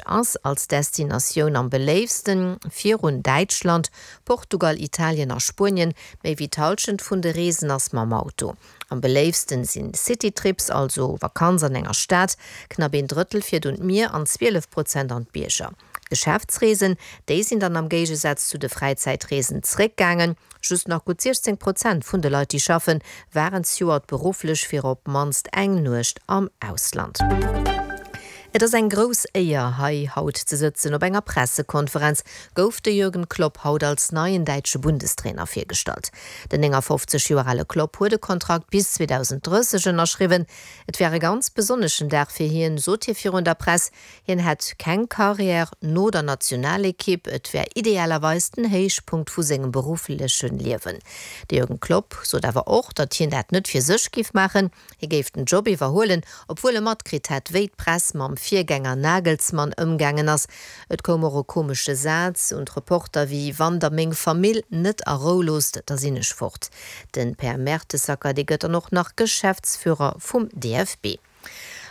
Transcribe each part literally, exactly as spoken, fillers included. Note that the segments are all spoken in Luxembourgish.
Ass als Destinatioun am beléiftsten, virun Däitschland, Portugal, Italien a Spuenien. Méi wéi d'Hallschent vun de Reesen ass mam Auto. Am beléiftsten sinn Citytrips, also Vakanz an enger Stad, knapp een Drëttel fiert un d'Mier an zwielef Prozent an d'Bierger. D'Geschäftsreesen, déi sinn dann am Géigesaz zu de Fräizäitreesen zréckgaangen. Just nach gutt siechzéng Prozent vun de Leit, déi schaffen, waren zejoert berufflech fir op d'mannst eng Nuecht am Ausland. Et ass eng grouss Éier, hei haut ze sëtzen. Op enger Pressekonferenz gouf de Jürgen Klopp haut als neien däitsche Bundestrainer virgestallt. Den néngafofzeg Joer ale Klopp huet e Kontrakt bis zweedausend drësseg ënnerschriwwen. Et wär e ganz besonneschen Dag fir hien, sot hie virun der Press. Hien hätt keng Karriär no der Nationalekipp, et wär idealerweis den Héichpunkt vu sengem beruffleche Liewen. De Jürgen Klopp sot awer och, datt hien dat net fir sech géif maachen, hie géif den Job iwwerhuelen, obwuel e matkritt hätt, wéi d'Press mam Virgänger Nagelsmann ëmgaangen ass. Et koum och e komesche Saz un d'Reporter wéi Wann der meng Famill net a Rou loosst, da sinn ech fort. Den Per Mertesacker, dee gëtt dann och nach Geschäftsführer vum D F B.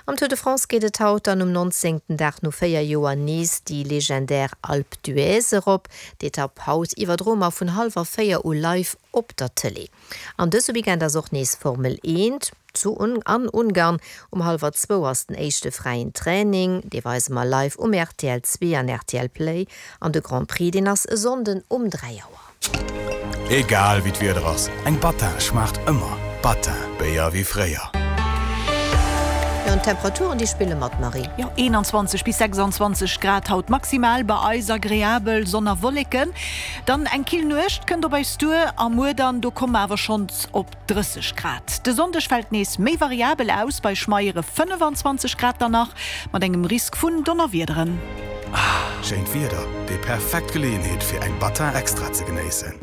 Am Tour de France geet et haut dann um nonzéngten Dag no véier Joer nees déi legendär Alpe d'Huez erop. D'Etapp haut iwwerdroe mer vun hallwer véier u live op der Tëlee. An dëse Weekend ass och nees Formel eent zu an Ungarn. Um hallwer zwou ass den éischte fräien Training, dee weise mer live um R T L zwee an R T L Play. An de Grand Prix, deen ass e Sonnden um dräi Auer. Egal wéi d'Wieder ass, eng Battin schmaacht ëmmer. Battin, Béier wéi fréier. Jo, an d'Temperaturen, déi spille mat, Marie. Jo, eenanzwanzeg bis sechsanzwanzeg Grad haut maximal bei eis, agreabel Sonn a Wolleken. Dann eng kill Nuecht kënnt op eis duer a muer dann, do komme mer awer schonns op drësseg Grad. De Sonndeg fält nees méi variabel aus, bei schmeiere fënnefanzwanzeg Grad dann nach, mat engem Risk vun Donnerwiederen. Schéint Wieder, déi perfekt Geleeënheet fir eng Battin Extra ze genéissen.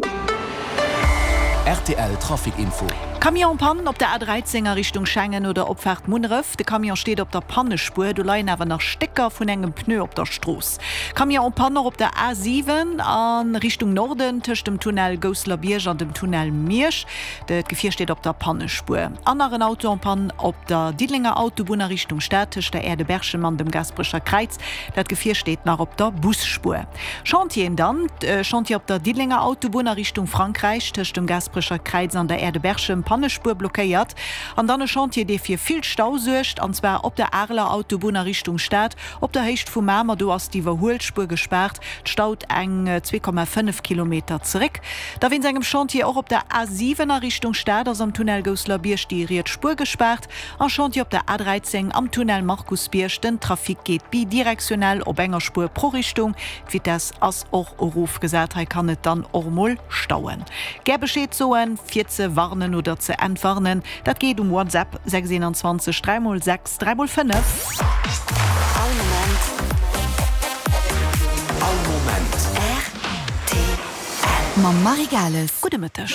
R T L Trafic Info. Camion en panne op der A dräizéng a Richtung Schengen oder Opfaart Munneref. De Camion steet op der Pannespuer, do leien awer nach Stécker vun engem Pneu op der Strooss. Camion en panne och op der A siwen a Richtung Norden tëscht dem Tunnel Gousselerbierg an dem Tunnel Miersch. D'Gefier steet op der Pannespuer. An nach en Auto en panne op der Diddelenger Autobunn a Richtung Stad tëscht der Aire de Berchem an dem Gaasperecher Kräiz. Dat Gefier steet nach op der Busspuer. Chantieren dann, Chantier op der Diddelenger Autobunn a Richtung Frankräich tëscht dem Gaasperecher Kräiz an der Aire de Berchem, Pannespuer blockéiert. An dann e Chantier, dee fir vill Stau suergt, an zwar op der Areler Autobunn a Richtung Stad op der Héicht vu Mamer. Do ass d'Iwwerhuelspuer gespaart, et staut eng zwee Komma fënnef Kilometer zeréck. Da wéinst engem Chantier och op der A siwen a Richtung Stad ass am Tunnel Gousselerbierg déi riets Spuer gespaart. A Chantier op der A dräizéng am Tunnel Markusbierg, den Trafic geet bidirektionell op enger Spuer pro Richtung, d'Vitess ass och erofgesat. Hei kann et dann och mol stauen. Gär Bescheed soen, fir ze warnen oder ze entwarnen, dat geet um WhatsApp sechs eenanzwanzeg dräi mol sechs dräi mol fënnef. All Moment. All Moment. R T L. Mam Marie Gales. Gudde Mëtteg.